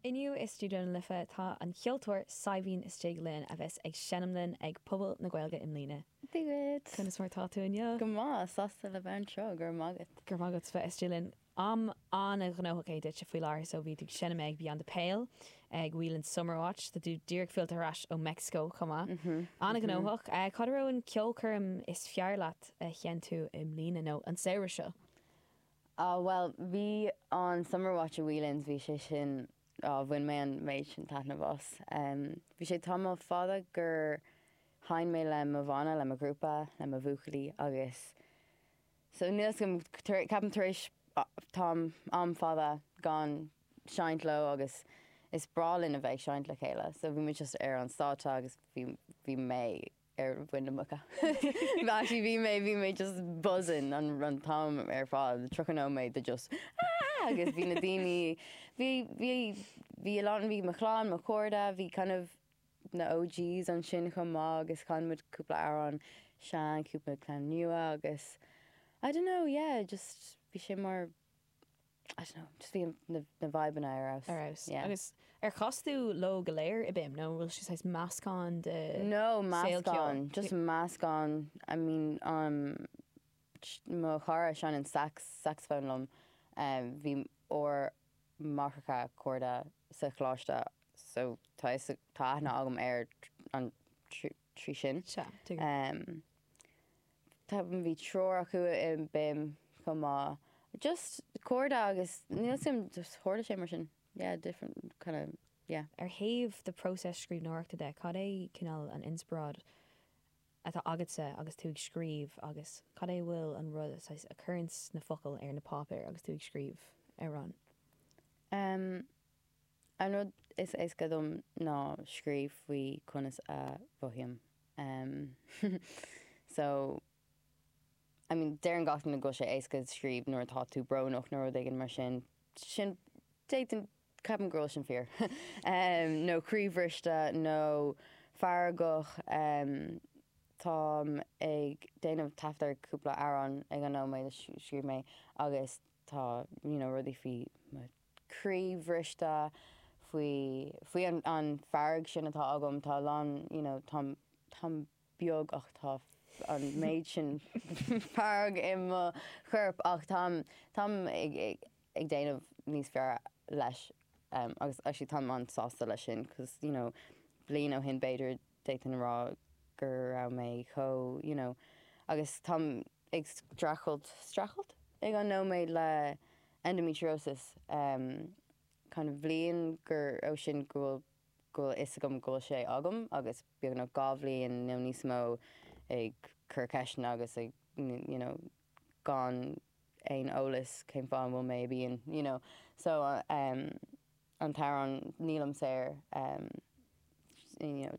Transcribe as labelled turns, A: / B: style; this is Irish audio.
A: Inniu i Stiúideo na Life tá an ceoltóir Saidhbhín istigh linn a bheas ag seinm linn ag Puball na Gaeilge i mbliana.
B: Dia dhuit.
A: Conas mar tá tú inniu?
B: Go maith, sásta le bheith anseo, go raibh maith agat.
A: Go raibh maith agat bheith istigh linn. Am an-ghnóthach é duitse faoi láthair so bhí tú ag seinm ag Beyond the Pale, ag Whelan's Summerwatch, tá tú díreach fillte ar ais ó Meicsiceo chomh maith. An-ghnóthach. Cad a raibh an ceolchoirm is fearr leat a sheinn tú i mbliana nó an samhradh seo?
B: Ah bhuel, bhí an Summerwatch i Whelan's, bhí sé sin, ah bhain mé an méid sin taitneamh as. Bhí sé tamall fada gur sheinn mé le mo bhanna, le mo ghrúpa, le mo bhuachaillí agus so níl 'fhios agam, ceapaim tar éis tam, am fada gan seinnt leo agus is breá linn a bheith ag seinnt le chéile so bhí muid just ar an stáitse agus bhí, bhí mé ar mhuin na muice. Actually bhí mé, bhí mé just buzzing an an t-am ar fad, 30 nóiméad de just aah agus bhí na daoine, bhí, bhí, bhí a lán, bhí mo chlann, mo chairde, bhí kind of na OGs ansin chomh maith agus chan muid cúpla amhrán sean, cúpla ceann nua agus I don't know, yeah, just bhí sé mar I don't know, just bhí na na vibeanna ar
A: fheabhas. Ar fheabhas. Yeah. Agus ar chas tú leo go léir i BIMM nó an bhfuil sé saghas meascán de
B: No, saol ceoil? meascán, just meascán. I mean, um, mo chara seinneann sax, saxophone liom, um, bhí ár máithreacha cairde sa choláiste so tá fhios, tá aithne agam air an trí sin.
A: Sea, tuigim.
B: Um, Tá, bhí triúr acu i BIMM chomh maith. Just cairde agus níl 'fhios agam, just tharla sé mar sin. Yeah, different kind of, yeah.
A: Ar thaobh do próiseas scríbhneoireachta de, cad é cineál an inspioráid atá agatsa agus tú ag scríobh agus cad é a bhfuil an rud saghas a chuireanns na focail ar na páipéir agus tú ag scríobh amhrán?
B: Em, an rud is éasca dom ná scríobh faoi conas a mhothaím. Em, so, I mean, deireann gach duine go bhfuil sé éasca scríobh nuair atá tú brónach nó rud éigin mar sin. Sin, d'fhéadfainn, ceapaim go bhfuil sin fíor. Em, nó croíbhriste nó feargach, em, táim ag déanamh taifead ar cúpla amhrán ag an nóiméad a scríobh mé agus tá, you know, rudaí faoi mo croí bhriste, faoi, faoi an, an fearg sin atá agam, tá a lán, you know, táim, táim beag ach tá an méid sin fearg i mo chorp ach táim, táim ag, ag, ag déanamh níos fearr leis um agus actually táim an-sásta leis sin cos, you know, bliain ó shin b'fhéidir d'fhéadfainn a rá go raibh mé chomh, you know, agus táim ag streachailt, streachailt? ag an nóiméad le endometriosis kind of bhliain gur ó sin go bhfuil go bhfuil fhios agam go bhfuil sé agam agus beagnach 2 bhliain nó níos mó ag cur ceisteanna agus ag you know gan aon eolas cén fáth an bhfuil mé i bpian you know so um an t-amhrán Nílim Saor um you know.